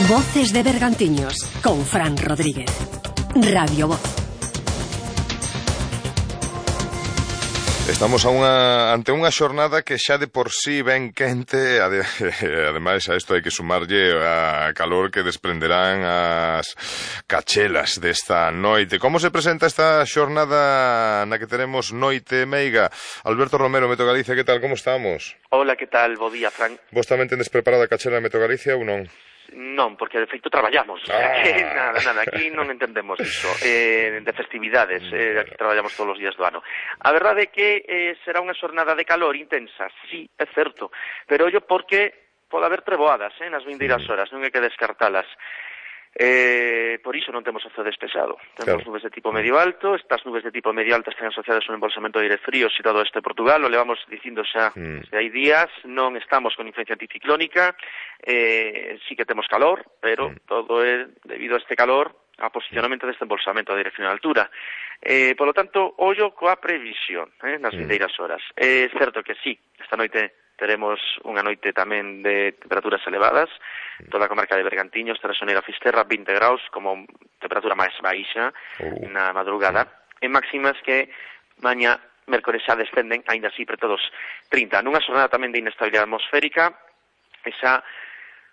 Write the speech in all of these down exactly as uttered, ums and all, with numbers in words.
Voces de Bergantiños, con Fran Rodríguez. Radio Voz. Estamos a unha, ante unha xornada que xa de por sí ben quente, ade, ademais a isto hai que sumarlle a calor que desprenderán as cachelas desta noite. Como se presenta esta xornada na que teremos noite meiga? Alberto Romero, Meteo Galicia, que tal, como estamos? Hola, que tal, bo día, Fran. Vos tamén tendes preparada a cachela de Meteo Galicia ou non? Non, porque de feito traballamos. Ah. Aquí, nada, nada, aquí non entendemos iso. Eh, de festividades, eh, aquí traballamos todos os días do ano. A verdade é que eh, será unha xornada de calor intensa, sí, é certo, pero ollo porque pode haber treboadas eh, nas vindeiras horas, non hai que descartalas. Eh, por iso non temos o ceo despexado. Temos claro. Nubes de tipo medio alto. Estas nubes de tipo medio alto están asociadas a un embolsamento de aire frío situado este Portugal. O levamos dicindo xa mm. desde hai días. Non estamos con influencia anticiclónica. Eh, sí que temos calor, pero mm. todo é debido a este calor a posicionamento deste embolsamento de aire frío na altura. Eh, por lo tanto, ollo coa previsión eh, nas mm. vindeiras horas. É eh, certo que sí, esta noite teremos unha noite tamén de temperaturas elevadas. Toda a comarca de Bergantiños, Terrasoneira, Fisterra, vinte graus como temperatura máis baixa uh. na madrugada. Uh. En máximas que maña mércores xa descenden, aínda así preto dos trinta. Nunha xornada tamén de inestabilidade atmosférica, e xa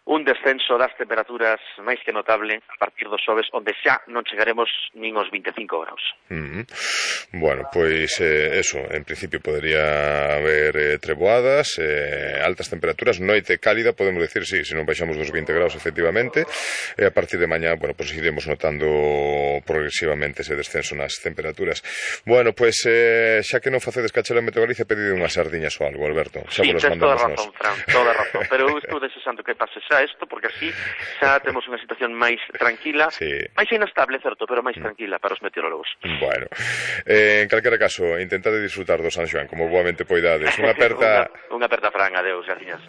un descenso das temperaturas máis que notable a partir dos xoves, onde xa non chegaremos nin os vinte e cinco graus. Mm-hmm. Bueno, pois eh, eso, en principio podría haber eh, treboadas, eh, altas temperaturas, noite cálida, podemos decir, sí, se non baixamos dos vinte graus efectivamente, e a partir de mañá, bueno, pois iremos notando progresivamente ese descenso nas temperaturas. Bueno, pois eh, xa que non facedes cachela en Meteo Galicia, pedide unhas sardiñas ou algo, Alberto. Xa sí, tens toda razón, Fran, toda razón, pero eu estou desexando que pase xa isto, porque así xa temos unha situación máis tranquila, sí. máis inestable, certo, pero máis tranquila para os meteorólogos. Bueno, eh, en calquera caso, intentade disfrutar do San Xoán como boamente poidades. Unha aperta... unha, unha aperta, Fran, adeus, gracias.